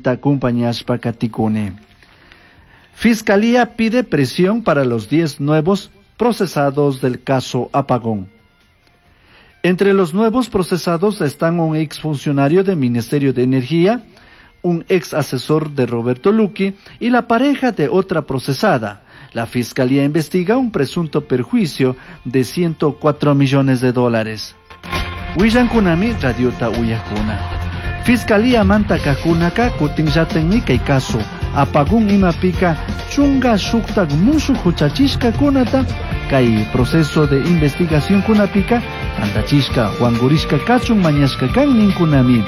Acompañashpa katikuni. Fiscalía pide prisión para los 10 nuevos procesados del caso Apagón. Entre los nuevos procesados están un exfuncionario del Ministerio de Energía, un ex asesor de Roberto Luqui y la pareja de otra procesada. La Fiscalía investiga un presunto perjuicio de 104 millones de dólares. Willankunami radiota uyakuna. Fiscalía manta kakunaka kutinllatanmi kay caso. Apagón imapika chunga shuktak mushuk huchachishkakunata kay proceso de investigación kunapika tantachishka wankurishka kachun mañashka kan ninkunami.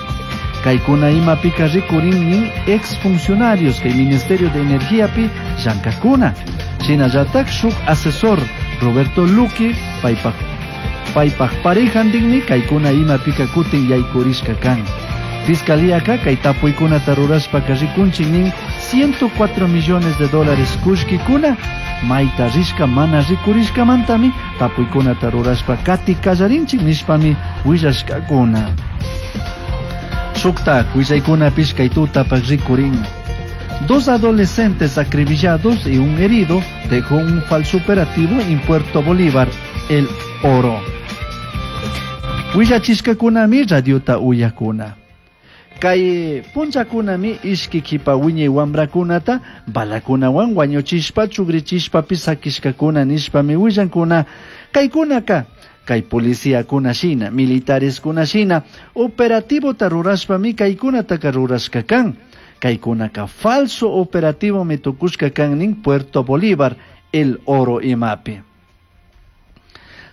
Kaykuna imapika rikurin nin exfuncionarios kay Ministerio de Energiapi llankakuna. Shinallatak shuk asesor Roberto Luqui paypak paypak parejantinmi kaykuna imapika kutin yaykurishka kan. Fiscalíaka kay tapuykunata rurashpaka rikunchik nin 104 millones de dólares kullkikuna mayta rishka mana rikurishkamantami tapuykunata rurashpa kati kallarinchik nishpami willashkakuna. Shuktak willaykunapish kay tutapak rikurin. Dos adolescentes acribillados y un herido dejó un falso operativo en Puerto Bolívar, El Oro. Willachishkakunami radiota uyakuna. Kay punchakunami ishki kipa wiñay wamrakunata balakunawan wañuchishpa chugrichishpapis sakishkakuna nishpami willankuna kaykunaka kay policíakuna shina militares shina operativota rurashpami kaykunataka rurashka kan. Kaykunaka falso operativo mi tukushka kan nin Puerto Bolívar, El Oro imapi.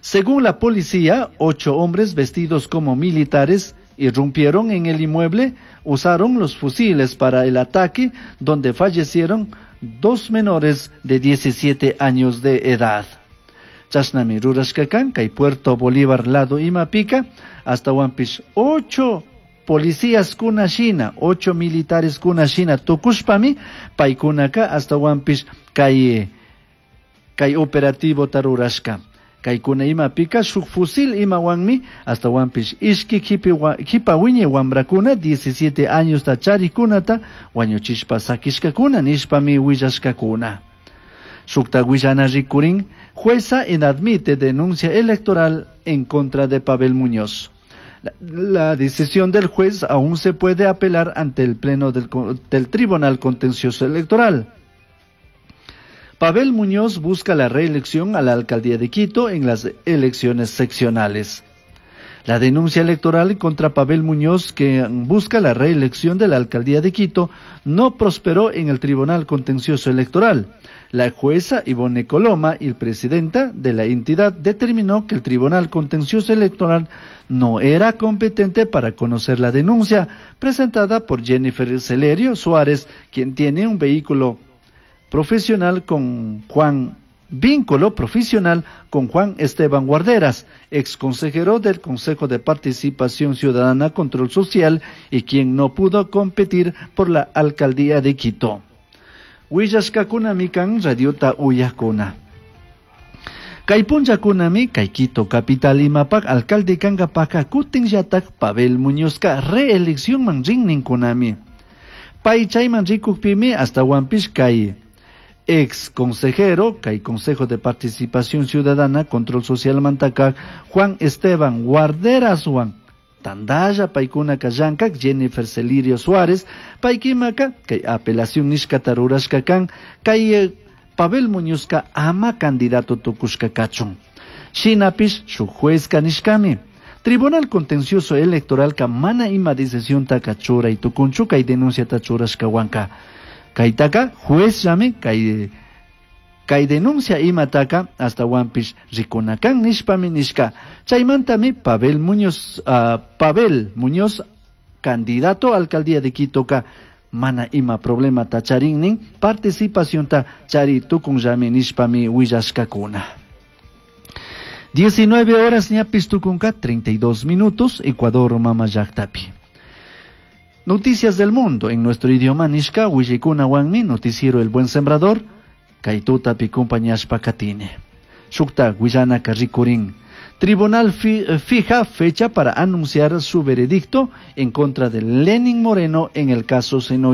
Según la policía, 8 hombres vestidos como militares irrumpieron en el inmueble, usaron los fusiles para el ataque, donde fallecieron 2 menores de 17 años de edad. Chashnami rurashka kan, kay Puerto Bolívar lado imapika, hasta Huampish 8 policías kuna shina, 8 militares kuna shina tukushpami, paykunaka hasta Huampish kay operativo tarurashka. Kaykuna imapika shuk fusil imawanmi hasta Huampish ishki kipa wiñay wamrakuna 17 años ta charikunata wañuchishpa sakishkakuna nishpami willashkakuna. Shukta willana rikurin, jueza inadmite denuncia electoral en contra de Pavel Muñoz. La decisión del juez aún se puede apelar ante el pleno del Tribunal Contencioso Electoral. Pavel Muñoz busca la reelección a la alcaldía de Quito en las elecciones seccionales. La denuncia electoral contra Pavel Muñoz, que busca la reelección de la alcaldía de Quito, no prosperó en el Tribunal Contencioso Electoral. La jueza Ivonne Coloma y el presidenta de la entidad determinó que el Tribunal Contencioso Electoral no era competente para conocer la denuncia presentada por Jennifer Celerio Suárez, quien tiene un vehículo profesional con Juan, vínculo profesional con Juan Esteban Guarderas, ex consejero del Consejo de Participación Ciudadana Control Social y quien no pudo competir por la alcaldía de Quito. Willashkakunami kan radiota uyakuna. Kay punchakunami kay Quito capital imapak alcalde kankapaka kutinllatak Pavel Muñozka reelección man rinninkunami. Pay chayman rikukpimi hasta Huampish kay ex consejero, kay Consejo de Participación Ciudadana, Control Social Mantaka, Juan Esteban Guarderas Juan, Tandaya, paykuna kallankak, Jennifer Celirio Suárez, paykimaka, kay apelación nishka tarurashka kan, kay Pavel Muñozka ama candidato tukushka kachun. Shinapish, shuk juezka nishkami. Tribunal Contencioso Electoral ka mana ima decisión taka churay tukunchu kay denuncia ta churashka wanka. Kaytaka juez llame kay denuncia imataka hasta Huampish rikunakan nishpami nishka. Chaymantami Pavel Muñoz candidato a alcaldía de Quito ka mana ima problema ta charinnin participación ta chari tukun llame nishpami willashkakuna. 19 horas ñapis tukunka 32 minutos, Ecuador mama llaktapi. Noticias del mundo en nuestro idioma nishka willikuna wanmi noticiero El Buen Sembrador kay tutapi compañashpa katini. Shukta willana rikurin. Tribunal fija fecha para anunciar su veredicto en contra de Lenin Moreno en el caso Senohidro.